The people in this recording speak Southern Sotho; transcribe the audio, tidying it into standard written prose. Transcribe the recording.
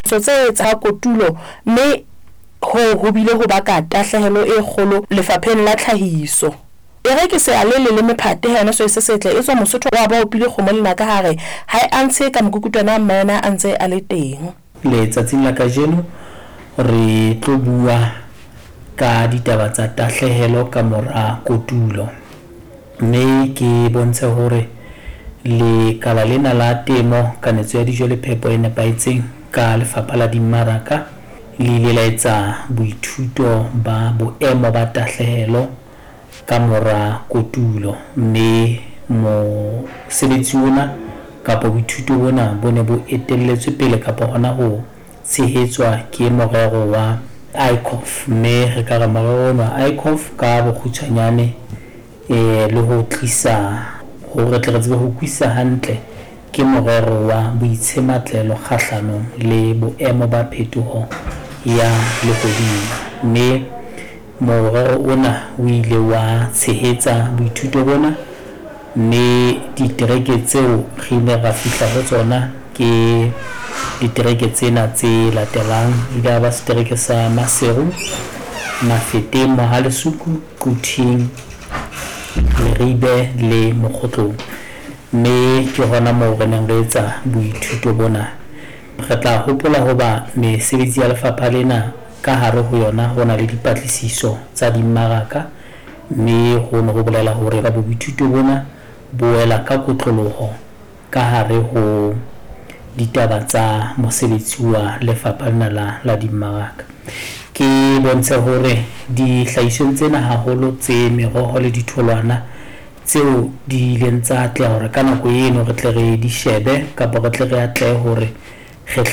Tse tsa kotulo, mme hoo ho bile ho baka tahlehelo e kgolo lefapheng la tlhahiso. E re ke se a le leleme phate ha yona soe se setle etswa Mosotho wa ba opile kgomo lenaka ha re ha e antshe ka mokukutwana ha mma yona a ntse a le teng. Letsatsing la kajeno re tlo bua ka ditaba tsa tahlehelo ka mora kotulo, mme ke bontshe hore lekala lena la temo, kanetso ya dijo le phepo e nepahetseng ka Lefapha la Dimmaraka le ile la etsa boithuto ba boemo ba tahlehelo ka mora kotulo, mme mosebetsi ona kapa boithuto bona bo ne bo etelletswe pele kapa hona ho tshehetswa ke morero wa ICOF, mme re ka re morero ona wa ICOF ka bokgutshwanyane le ho tlisa hore re tle re tsebe ho utlwisisa hantle ke morero wa boitshematlelo kgahlanong le boemo ba phetoho ya lehodimo, mme morero ona o ile wa tshehetsa boithuto bona, mme ditereke tseo re ileng ra fihla ho tsona ke ditereke tsena tse latelang. Ile ya ba setereke sa Maseru, Mafeteng, Mohalesuku, Quthing, Leribe le Mokgotlong, mme ke hona moo re neng re etsa boithuto bona. Re tla hopola hoba mesebetsi ya lefapha lena ka hare ho yona ho na le dipatlisiso tsa dimmaraka, mme hono ho bolela hore boithuto bona bo wela ka kotloloho ka hare ho ditaba tsa mosebetsi wa lefapha lena la la dimmaraka. Ke bontshe hore dihlahisweng tsena haholo tse meroho le ditholwana tseo di ileng tsa atleha hore ka nako eno re tle re di shebe kapa re tle re atlehe hore re hle.